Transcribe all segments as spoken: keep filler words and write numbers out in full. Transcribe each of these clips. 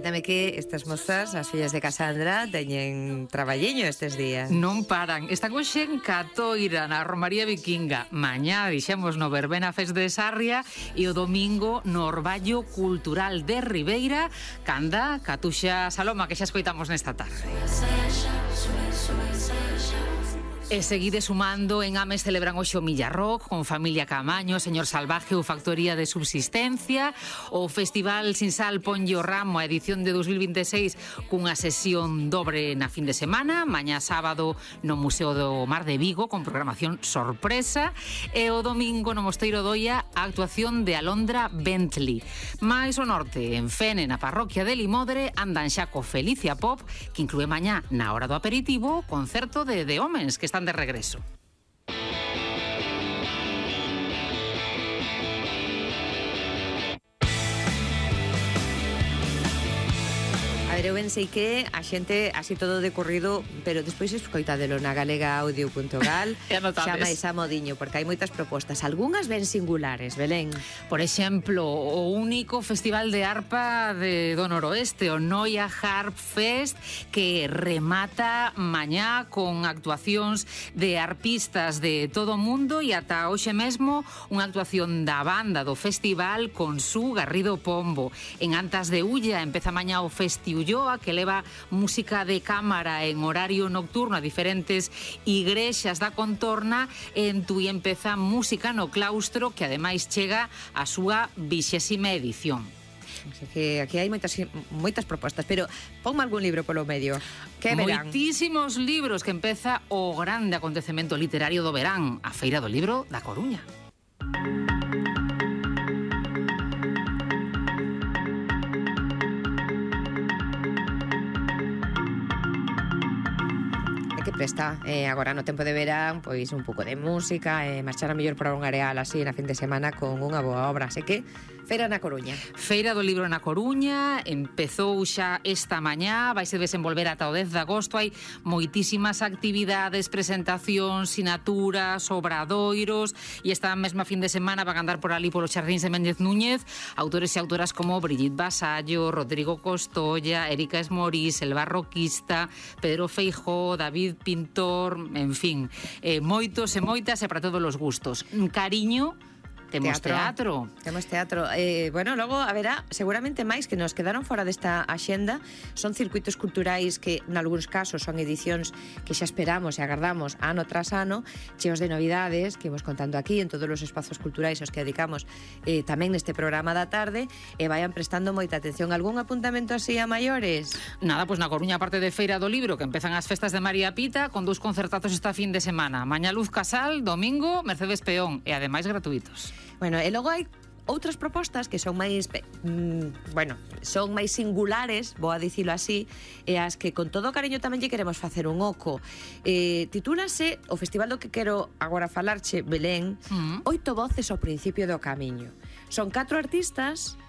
Coméntame que estas mozas, as fillas de Casandra, teñen traballiño estes días. Non paran. Están hoxe en Catoira, na Romaría Vikinga. Mañá dixemos no Verbena Fest de Sarria e o domingo no Orballo Cultural de Ribeira, canda Catuxa Saloma, que xa escoitamos nesta tarde. E seguide sumando, en Ames celebran hoxe o Millarrock con Familia Camaño, Señor Salvaje ou Factoría de Subsistencia. O Festival Sin Sal ponlle o ramo a edición de dos mil vinte e seis cunha sesión dobre na fin de semana, mañá sábado no Museo do Mar de Vigo con programación sorpresa, e o domingo no Mosteiro Doia a actuación de Alondra Bentley. Mais o norte, en Fene, na parroquia de Limodre, andan xa co Felicia Pop, que inclúe mañá na hora do aperitivo concerto de The Homens, que están de regreso. A ver, eu pensei que a xente así todo decorrido, pero despois escoitadelo na galega audio punto gal, xa máis a modiño, porque hai moitas propostas, algunhas ben singulares, Belén. Por exemplo, o único festival de arpa de do noroeste, o Noia Harp Fest, que remata mañá con actuacións de arpistas de todo o mundo e ata hoxe mesmo unha actuación da banda do festival con Su Garrido Pombo. En Antas de Ulla empeza mañá o Festi Ulloa, que leva música de cámara en horario nocturno a diferentes igrexas da contorna. En Tui empeza música no claustro, que ademais chega a súa vixésima edición. Que aquí hai moitas moitas propostas, pero ponme algún libro polo medio. Que verán? Moitísimos libros, que empeza o grande acontecemento literario do verán, a Feira do Libro da Coruña. Que presta, eh, agora no tempo de verán, pois un pouco de música, eh, marchar a mellor para un areal así na fin de semana con unha boa obra, así que Feira na Coruña. Feira do Libro na Coruña, empezou xa esta mañá, vai se desenvolver ata o dez de agosto, hai moitísimas actividades, presentacións, sinaturas, obradoiros, e esta mesma fin de semana van andar por ali polos xardíns de Méndez Núñez autores e autoras como Brigitte Vasallo, Rodrigo Costolla, Erika Esmorís, El Barroquista, Pedro Feijó, David Pintor, en fin, eh, moitos e moitas e para todos os gustos. Cariño, temos teatro. teatro. Temos teatro. Eh, bueno, logo haberá seguramente máis que nos quedaron fora desta axenda. Son circuitos culturais que, nalgúns casos, son edicións que xa esperamos e agardamos ano tras ano, cheos de novidades que vos contando aquí en todos os espazos culturais aos que dedicamos eh, tamén neste programa da tarde, e vayan prestando moita atención. Algún apuntamento así a maiores? Nada, pois pues na Coruña, aparte de Feira do Libro, que empezan as festas de María Pita, con dous concertazos esta fin de semana. Mañá Luz Casal, domingo Mercedes Peón, e ademais gratuitos. Bueno, e logo hai outras propostas que son máis, mm, bueno, son máis singulares, vou a dicilo así, e as que con todo o cariño tamén lle queremos facer un oco. Eh, titúlase o festival do que quero agora falarche, Belén, mm. Oito voces ao principio do camiño. Son catro artistas,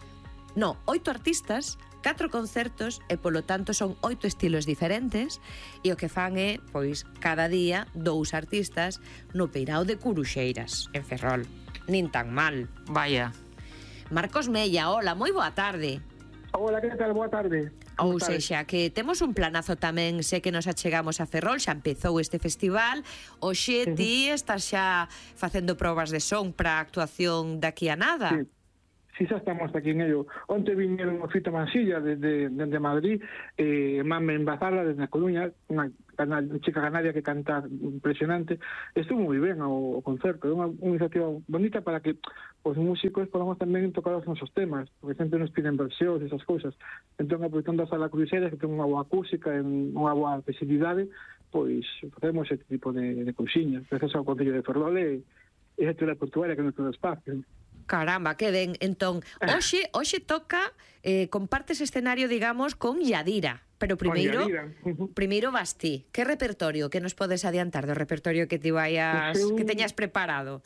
no, oito artistas, catro concertos, e polo tanto son oito estilos diferentes, e o que fan é, pois, cada día dous artistas no Peirao de Curuxeiras, en Ferrol. Nin tan mal. Vaya. Marcos Mella, hola, moi boa tarde. Hola, que tal? Boa tarde. Ou sexa, que temos un planazo tamén, sé que nos achegamos a Ferrol, xa empezou este festival. Oxe, sí. Ti estás xa facendo probas de son para a actuación daqui a nada. Sí. Si xa estamos aquí en ello. Onte viñeron o Fito Mansilla desde, desde Madrid, eh, Mame Embazala desde a Coruña, unha chica canaria que canta impresionante. Estuvo moi ben o, o concerto, é unha, unha iniciativa bonita para que os músicos podamos tamén tocar os nosos temas, porque sempre nos piden versións e esas cousas. Entón, aproveitando a Sala Cruxeira, que ten unha boa acústica e unha boa visibilidade, pois facemos este tipo de, de cousiñas, gracias ao Concello de Ferrol e a actividade portuaria que nos todo espacio. Caramba, que ben. Entón, hoxe, hoxe toca, eh, compartes escenario, digamos, con Yadira. Pero primeiro, primeiro vas ti. Que repertorio que nos podes adiantar do repertorio que ti vayas, eu, que teñas preparado?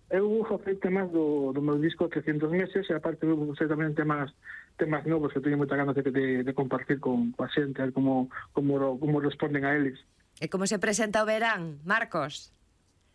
Eu vou facer temas do, do meu disco trescentos meses, e aparte vou facer tamén temas temas novos que teño moita ganas de, de, de compartir con, con a xente, a ver como, como, como responden a eles. E como se presenta o verán, Marcos?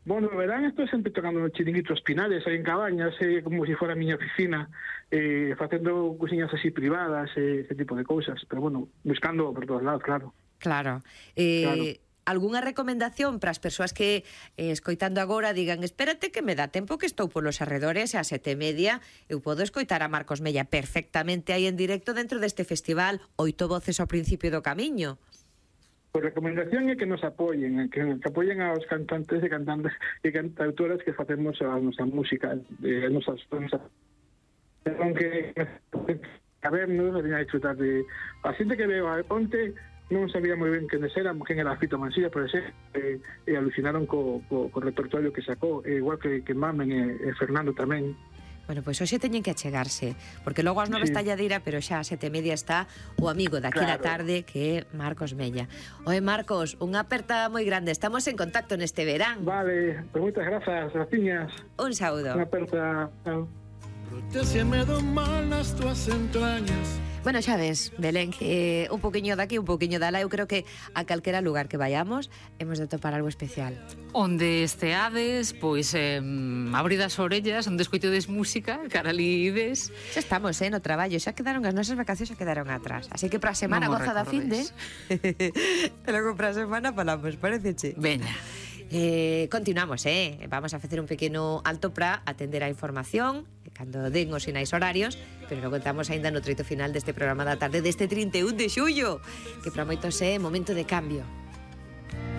Bueno, verán, estou sempre tocando nos chiringuitos Pinares, aí en Cabañas, eh, como se si fora a miña oficina, eh, facendo cociñas así privadas, eh, ese tipo de cousas, pero bueno, buscando por todos lados, claro. Claro. Eh, Claro. Algúnha recomendación para as persoas que eh, escoitando agora digan espérate que me dá tempo que estou polos arredores e a sete e media eu podo escoitar a Marcos Mella perfectamente aí en directo dentro deste festival Oito Voces ao principio do camiño? Pois a recomendación é que nos apoyen, que, que apoyen aos cantantes e cantantes e cantautoras que facemos a nosa música, eh, a nosas, a nosa, aunque a vernos, a venir a disfrutar de a xente que veo a onte non sabía moi ben quen era, quen era Fito Mansilla, por exemplo, e, e alucinaron co, co, co repertorio que sacou, e igual que, que Mamen e, e Fernando tamén. Bueno, pois hoxe teñen que achegarse, porque logo ás nove Sí. está Lladira, pero xa a sete e media está o amigo daqui da Claro. tarde, que é Marcos Mella. Oe, Marcos, unha aperta moi grande, estamos en contacto neste verán. Vale, pues moitas grazas, graciñas. Un saúdo. Unha aperta. Chao. Protégeme do mal nas tuas entrañas. Bueno, xa ves, Belén, que un poquinho daqui, un poquinho dala, eu creo que a calquera lugar que vayamos hemos de topar algo especial. Onde esteades, pois eh, abrid as orellas, onde escoitedes música, cara ali ides. Xa estamos, eh, no traballo, xa quedaron as nosas vacacións, xa quedaron atrás. Así que para a semana Non mo goza da finde. recordes. E logo para a semana falamos, pareceche? Veña. Eh, continuamos, eh? Vamos a facer un pequeno alto para atender a información cando den os sinais horarios, pero logo estamos aínda no treito final deste programa da tarde deste trinta e un de xullo, que para moitos é momento de cambio.